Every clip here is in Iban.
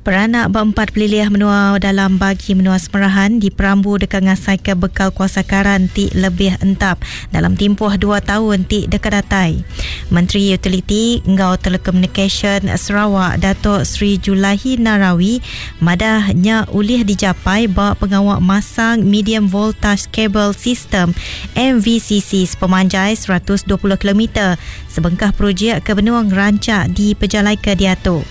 Peranak ba empat pelilih menua dalam bagi menua Semerahan diperambu deka ngasaika bekal kuasa karan ti lebih entap dalam timpuh dua taun ti deka datai. Menteri Utiliti enggau Telekomunikasyen Sarawak Datuk Seri Julaihi Narawi madah nya ulih dijapai ba pengawa masang Medium Voltage Cable System, MVCC, sepemanjai 120 kilometer sebengkah projek ke benung rancak dipejalaika diatu.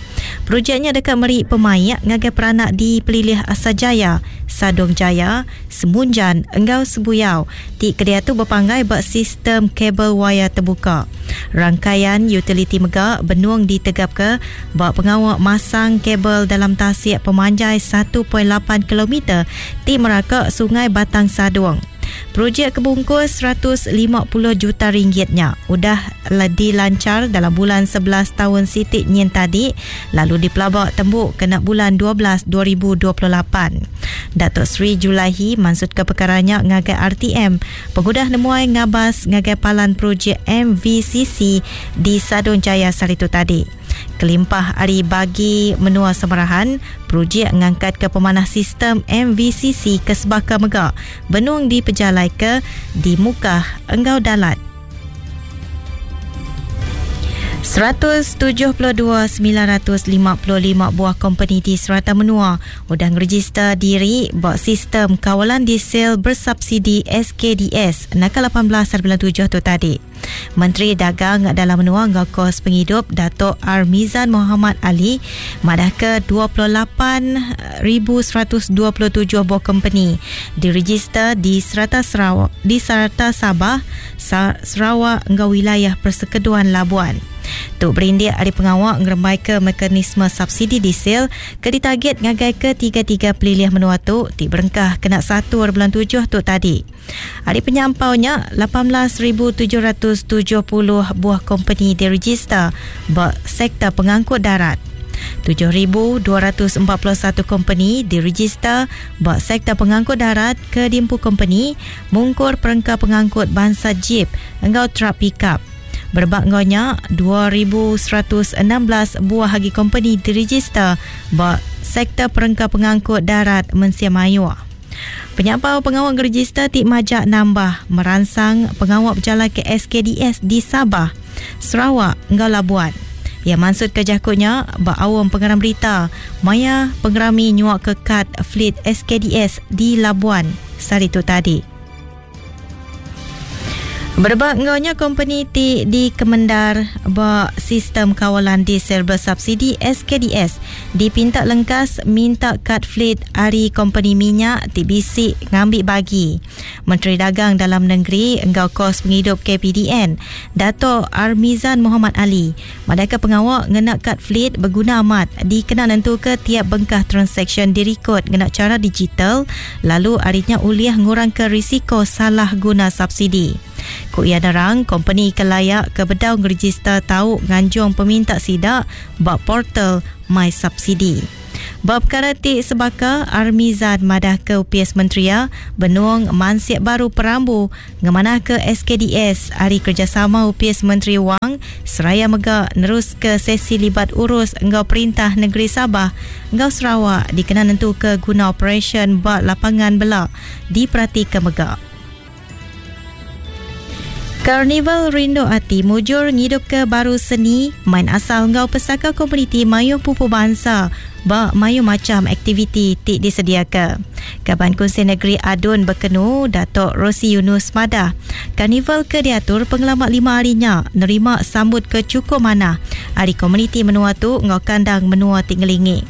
Projek nya deka meri pemaik ngagai peranak di pelilih Asajaya, Sadong Jaya, Semunjan enggau Sebuyau ti kediatu bepanggai ba sistem kabel wayar tebuka. Rangkaian utiliti mega benung ditegapka ba pengawa masang kabel dalam tasik pemanjai 1.8 kilometer ti meraka Sungai Batang Sadong. Projek ke bungkus 150 juta ringgit nya udah dilanchar dalam bulan 11 taun siti nyin tadi lalu dipelaba tembu kena bulan 12 2028. Datuk Seri Julaihi mansutka pekara nya ngagai RTM pengudah nemuai ngabas ngagai palan projek MVCC di Sadong Jaya sehari tu tadi. Kelimpah ari bagi menua Samarahan, projek ngangkatka pemanah sistem MVCC ke sebaka mega benung dipejalaika di Mukah enggau Dalat. 172,955 buah kompeni di serata menua udah ngerejista diri ba Sistem Kawalan Diesel Bersubsidi SKDS naka 18 hari bulan tujuh tu tadi. Menteri Dagang Dalam Menua enggau Kos Pengidup Datuk Armizan Mohamad Ali madahka 28,127 buah kompeni direjista di serata Sarawak, di serata Sabah, Sarawak enggau Wilayah Persekutuan Labuan. Tu berindik ari pengawa ngerembaika mekanisme subsidi diesel ke ditagit ngagai ketiga-tiga pelilih menua tu ti berengkah kena satu hari bulan tujuh tu tadi. Ari penyampau nya, 18,770 buah kompeni direjista ba sektor pengangkut darat. 7,241 kompeni direjista ba sektor pengangkut darat ke diempu kompeni mungkur perengka pengangkut bansa jip enggau trak pikap. Berebak enggau nya, 2,116 buah agi kompeni direjista ba sektor perengka pengangkut darat mensia mayuh. Penyampau pengawa ngerejista ti majak nambah meransang pengawa bejalaika SKDS di Sabah, Sarawak enggau Labuan. Iya mansutka jaku nya ba aum pengarang berita maya pengerami nyuaka kad Fleet SKDS di Labuan sehari tu tadi. Berebak enggau nya kompeni ti dikemendar ba Sistem Kawalan Diesel Bersubsidi SKDS dipinta lengkas minta kad fleet ari kompeni minyak ti bisi ngambi bagi. Menteri Dagang Dalam Nengeri enggau Kos Pengidup KPDN, Dato Armizan Mohamad Ali madahka pengawa ngena kad fleet beguna amat dikena nentuka tiap bengkah transaksyen dirikod ngena chara digital lalu ari nya ulih ngurangka risiko salah guna subsidi. Ku iya nerang, kompeni ke layak ke bedau ngerejista tau nganjung peminta sida ba portal MySubsidi. Ba pekara ti sebaka, Armizan madahka Opis Menteri iya benung mansik baru perambu ngemanahka SKDS ari kerejasama Opis Menteri Wang seraya mega neruska sesi libat urus enggau Perintah Negeri Sabah enggau Sarawak dikena nentuka guna operasyen ba lapangan bela diperatika mega. Karnival Rindu Ati mujur ngidupka baru seni, main asal enggau pesaka komuniti mayuh pupu bansa ba mayuh macham aktiviti ti disediaka. Kaban Kunsil Negeri Adun Bekenu, Datuk Rosey Yunus madah, karnival ke diatur pengelama lima hari nya nerima sambut ke chukup manah ari komuniti menua tu enggau kandang menua ti ngelingi.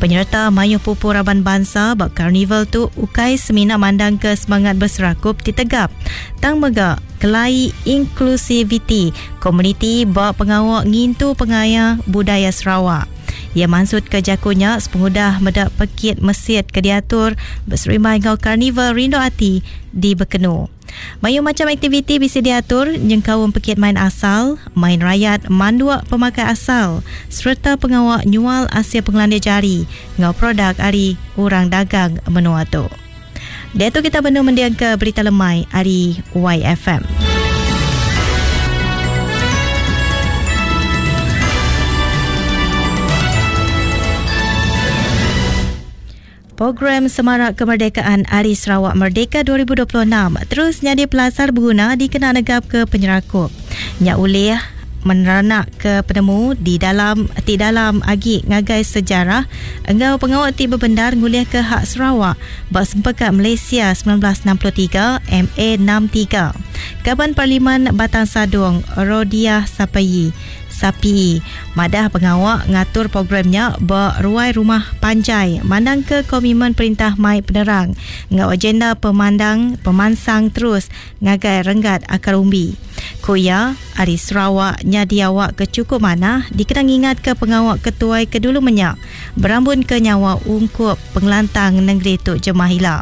Penyereta mayuh pupu raban bansa ba karnival tu ukai semina mandangka semangat beserakup ti tegap tang mega kelai inklusiviti komuniti ba pengawa ngintu pengaya budaya Sarawak. Iya mansutka jaku nya sepengudah meda pekit mesit ke diatur beserimbai enggau Karnival Rindu Ati di Bekenu. Mayuh macham aktiviti bisi diatur nyengkaum pekit main asal, main rayat manduk pemakai asal sereta pengawa nyual asil pengelandik jari enggau produk ari orang dagang menua tu. Diatu kita benung mendingka berita lemai ari YFM. Program Semarak Kemerdekaan Hari Sarawak Merdeka 2026 terus nyadi pelasar beguna dikena negapka penyerakup. Nya ulih meneranakka penemu di dalam ti dalam agi ngagai sejarah enggau pengawa ti bebendar ngulihka hak Sarawak ba Sempekat Malaysia 1963, MA 63. Kaban Parlimen Batang Sadong, Rodiah Sapayi, Sapiee madah pengawa ngatur program nya ba ruai rumah panjai mandangka komitmen perintah mai penerang enggau agenda pemandang pemansang terus ngagai renggat akar umbi. Ku iya, ari Sarawak nyadi awak ke chukup manah dikena ngingatka pengawa ketuai ke dulu menya berambunka nyawa ungkup pengelantang nengeri tu jemah ila.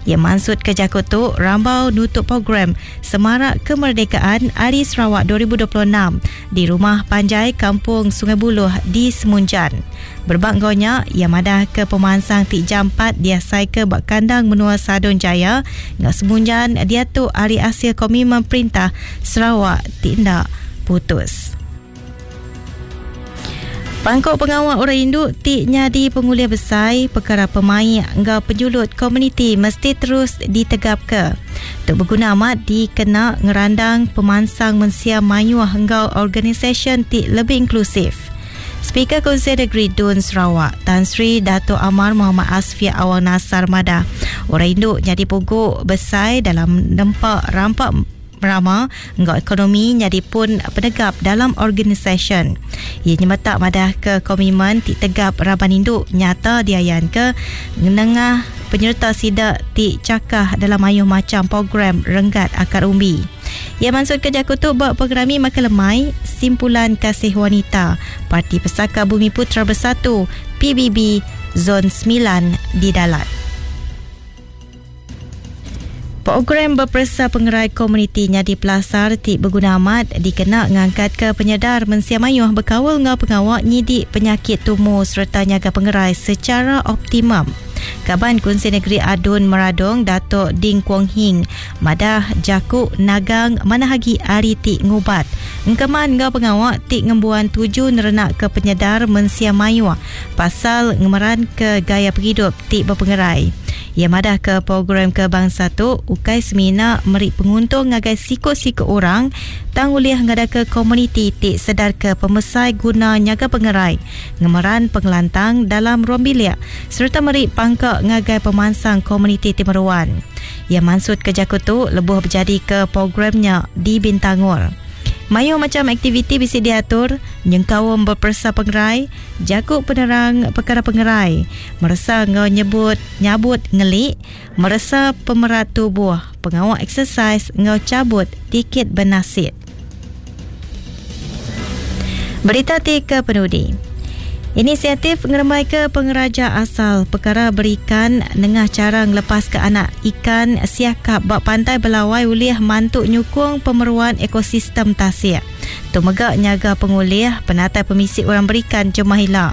Iya mansutka jaku tu rambau nutup program Semarak Kemerdekaan Hari Sarawak 2026 di Rumah Panjai Kampung Sungai Buloh di Semunjan. Berebak enggau nya, iya madahka pemansang ti jampat diasaika ba kandang menua Sadong Jaya enggau Semunjan diatu ari asil komitmen perintah Sarawak ti enda putus. Pangku pengawa orang indu ti nyadi pengulih besai pekara pemaik enggau penyulut komuniti mesti terus ditegapka. Tu beguna amat dikena ngerandang pemansang mensia mayuh enggau organisasyen ti lebih inklusif. Speaker Kunsil Negeri Dun Sarawak, Tan Sri Datuk Amar Mohamad Asfia Awang Nassar madah, orang indu nyadi pugu besai dalam nempa rampa Rama enggau ekonomi nyadi pun penegap dalam organisasyen. Iya nyemetak madahka komitmen ti tegap raban indu nyata diayanka nengah penyereta sida ti chakah dalam mayuh macham program renggat akar umbi. Iya mansutka jaku tu ba Pengerami Makai Lemai Simpulan Kasih Wanita Parti Pesaka Bumiputera Bersatu, PBB, Zon semilan di Dalat. Program beperesa pengerai komuniti nyadi pelasar ti beguna amat dikena ngangkatka penyedar mensia mayuh bekaul enggau pengawa nyidi penyakit tumu sereta nyaga pengerai sechara optimum. Kaban Kunsil Negeri Adun Meradong Datuk Ding Kuong Hing madah jaku nagang manah agi ari ti ngubat engkeman enggau pengawa ti ngembuan tuju nerenakka penyedar mensia mayuh pasal ngemeranka gaya pengidup ti bepengerai. Iya madahka program ke bansa tu ukai semina meri penguntung ngagai siku-siku orang tang ulih ngadaka komuniti ti sedarka pemesai guna nyaga pengerai, ngemeran pengelantang dalam ruang bilik sereta meri pangka ngagai pemansang komuniti ti meruan. Iya mansutka jaku tu lebuh bejadika program nya di Bintangor. Mayuh macham aktiviti bisi diatur nyengkaum beperesa pengerai, jaku penerang pekara pengerai, meresa enggau nyebut nyabut ngeli, meresa pemerat tubuh, pengawa eksesais enggau chabut tikit benasit. Berita ti ke penudi. Inisiatif ngerembaika pengeraja asal pekara berikan nengah chara ngelepaska anak ikan siakap ba Pantai Belawai ulih mantu nyukung pemeruan ekosistem tasik. Tu mega nyaga pengulih penatai pemisi orang berikan jemah ila.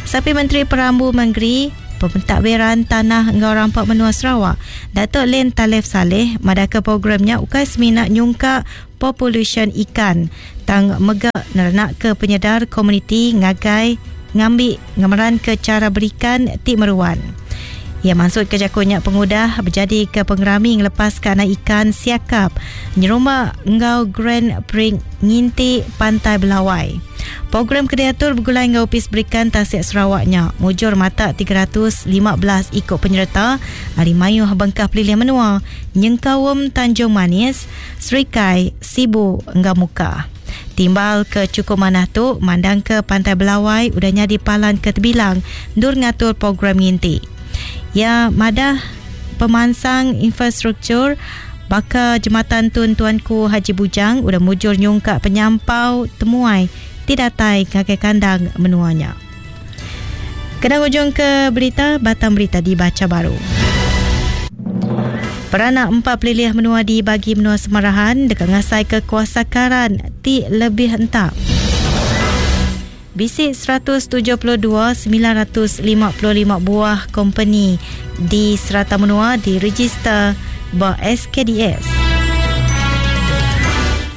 Sapi Menteri Perambu Mengeri, Pentadbiran Tanah enggau Rampa Menua Sarawak, Datuk Len Talif Salleh madahka program nya ukai semina nyungkak populasyen ikan tang mega nerenakka penyedar komuniti ngagai ngambi ngemeranka chara berikan ti meruan. Iya mansutka jaku nya pengudah bejadika pengerami ngelepaska anak ikan siakap nyerumba enggau Grand Prix Nginti Pantai Belawai. Program ke diatur begulai enggau Opis Berikan Tasik Sarawak nya mujur matak 315 iku penyereta ari mayuh bengkah pelilih menua nyengkaum Tanjung Manis, Serikai, Sibu enggau Mukah. Timbal ke chukup manah tu mandangka Pantai Belawai udah nyadi palan ke tebilang endur ngatur program nginti. Iya madah pemansang infrastruktur baka Jematan Tun Tuanku Haji Bujang udah mujur nyungkak penyampau temuai ti datai ngagai kandang menua nya. Kena ngujungka berita, batang berita dibacha baru. Peranak empat pelilih menua di bagi menua Semarahan deka ngasaika kuasa karan ti lebih entap. Bisi 172 955 buah kompeni di serata menua direjister ba SKDS.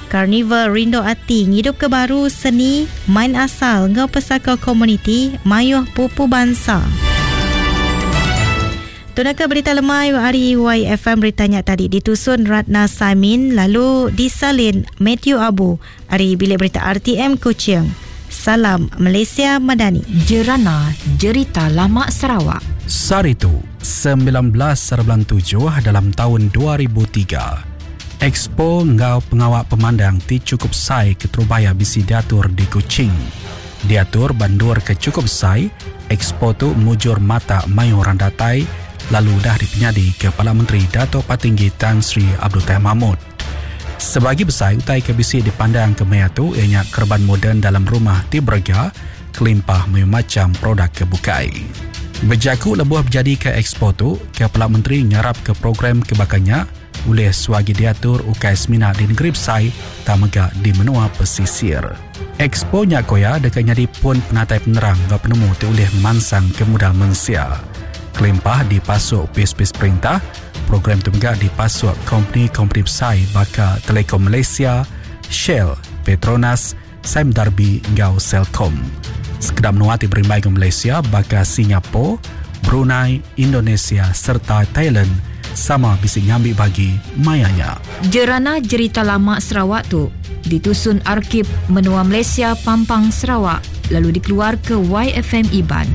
Karnival Rindu Ati ngidupka baru seni, main asal enggau pesaka komuniti mayuh pupu bansa. Tu naka berita lemai ari YFM berita nya tadi ditusun Ratna Saimin lalu disalin Matthew Abu ari Bilik Berita RTM Kuching. Salam Malaysia Madani. Jerana Jerita Lama Sarawak. Sehari tu, 1997 dalam taun 2003, Expo enggau pengawa pemandang ti chukup besai keterubah iya bisi diatur di Kuching. Diatur ba endur ke chukup besai, expo tu mujur matak mayuh orang datai lalu udah dipenyadi Kepala Menteri Datuk Patinggi Tan Sri Abdul Taib Mahmud. Sebagi besai utai ke bisi dipandang ke maya tu iya nya kereban moden dalam rumah ti berega kelimpah mayuh macham produk ke bukai. Bejaku lebuh bejadika expo tu, Kepala Menteri ngarapka program ke baka nya ulih suah agi diatur ukai semina di negeri besai tang mega di menua pesisir. Expo nya ku iya deka nyadi pun penatai penerang enggau penemu ti ulih ngemansangka mudal mensia. Kelimpah dipasuk opis-opis perintah, program tu mega dipasuk kompeni-kompeni besai baka Telekom Malaysia, Shell, Petronas, Sime Darby enggau Celcom. Sekeda menua ti berimbai enggau Malaysia baka Singapore, Brunei, Indonesia sereta Thailand sama bisi ngambi bagi maya nya. Jerana Jerita Lama Sarawak tu ditusun Arkib Menua Malaysia Pampang Sarawak lalu dikeluarka YFM Iban.